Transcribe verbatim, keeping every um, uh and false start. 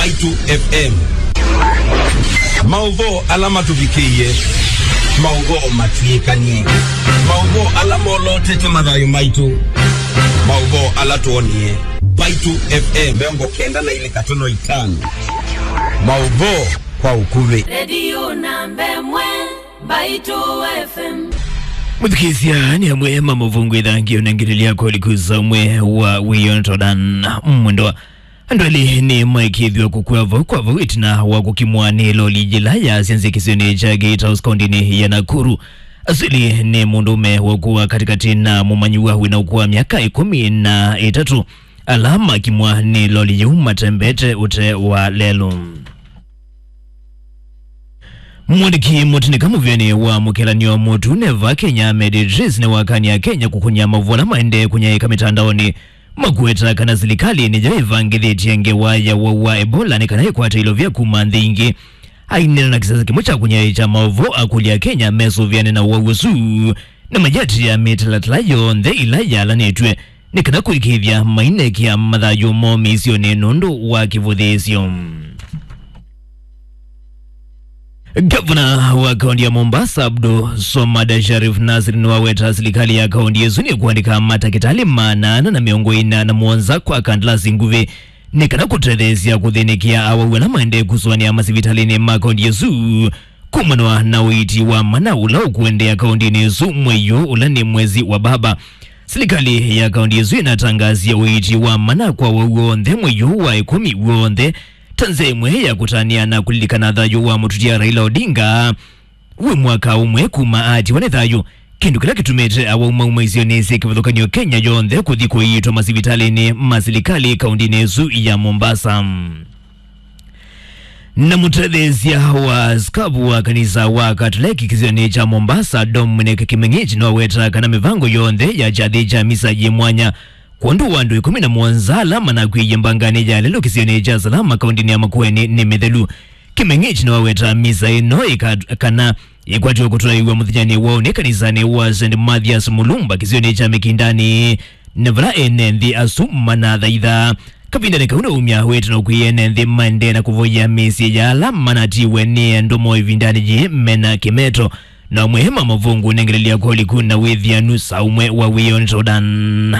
Mbaitu F M. Maũvoo ala matũvikĩie, maũvoo matw'ĩkanie, maũvoo ala molotete mathayũ maitũ, maũvoo ala twonie. Mbaitu F M mĩongo kenda na ilĩ katono itano. Maũvoo kwa ũkuvĩ. Redio namba ĩmwe, Mbaitu F M. Mũthikĩĩsya, nĩ amwe ma mũvũngũ ĩthangĩ ũnengetelya kolikusa ũmwe wa wĩoo nĩ Todan Mwendwa. Andũ elĩ nĩ maĩkĩĩthw'a kũkw'a vau kwa vau ĩtina wa kũkimwa nĩ loli yĩla yaasya nzĩ kĩsionĩ kya Gate House kaũndĩnĩ ya Nakuru. Asu elĩ nĩ mũndũũme wa ũkũũ wa katĩkatĩ na mũmanyĩw'a wĩna ũkũũ wa myaka ĩkũmi na ĩtatũ, ala makimwa nĩ loli yĩu matembete ũtee wa lelũ. Mwandĩki mũtĩnĩka mũvĩanĩ wa mũkĩlanĩo mũtune va Kenya, Ahmed Idris, nĩwakany'a Kenya kũkũnĩa maũvoo ala maendee kũnyaĩĩka mĩtandaonĩ makweta kana silikalĩ nĩyo ĩvangĩthĩtye ngewa ya ũwau wa Ebola nĩ kana ĩkwate ilovya kuma nthĩ ingĩ. Aineena na kĩsese kĩmwe kya kũnyaĩĩkya maũvoo, akũlya Kenya mesũvĩane na ũwau ũsu na mayĩatĩĩa mĩtalatala yonthe ĩla yalanĩtw'e nĩ kana kũĩkĩĩthya mainekĩa mathayũ moo mĩisyonĩ nũndũ wa kĩvũthĩĩsyo. Gavana wa kaũntĩ ya Mombasa, Abdul Swamad Sharif Nasir, nĩwaweta silikalĩ ya kaũntĩ ĩsu nĩkũandĩka matakĩtalĩ maana ana na mĩongo ĩna na mũonza kwa kandalasi nguvĩ nĩ kana kũtetheesya kũthĩnĩkĩa awau ala maendee kũsũanĩa masivitalĩnĩ ma kaũntĩ ĩsu kumana na ũiiti wa mana ũla ũkũendeea kaũntĩnĩ ĩsu mwei ũyũ ũla nĩ mwezi wa baba. Silikalĩ ya kaũntĩ ĩsu ĩnatangasie ũiiti wa mana kwa awau onthe mwei ũyũ wa ĩkũmi w'onthe ta nzĩa ĩmwe ya kũtanĩa na kũlilikana thayũ wa mũtutia Raila Odinga wĩ mwaka ũmwe kuma aatiwa nĩ thayũ, kĩndũ kĩla kĩtumĩte awau mauma isionĩ syĩ kĩvathũkany'o Kenya yonthe kũthi kũiitwa masivitalĩnĩ ma silikalĩ kaũntĩnĩ ĩsu ya Mombasa. Na mũtetheesya wa askavu wa kanisa wa Katoleki kĩsionĩ kya Mombasa, Dominic Kimeng'ich, nĩwaweta kana mĩvango yonthe ya kyathĩ kya misa yĩ mwanya kwondũ wa andũ ĩkũmi na mũonza ala manakw'ĩie mbanganĩ ya lelũ kĩsionĩ kya Salama kaũntĩnĩ ya Makueni nĩ mĩthelu. Kimeng'ich nĩwaweta misa ĩno ĩka-, kana ĩkwatĩwe kũtwaĩwa mũthenyanĩ wa ũnĩ kanisanĩ wa Saint Mathias Mulumba kĩsionĩ kya Mikindani, na vala ene nthĩ asu manathaitha. Kavindanĩ kau nĩwaumya wĩtano kwĩ ene nthĩ maendee na kũvoya mĩsyĩ ya ala manatiwe nĩ andũ moo ĩvindanĩ yĩĩ mena kĩmeto, na amwe ma mavũngũ nengelelya koliku na wĩthianu sa ũmwe wa wĩoo nĩ Jordan.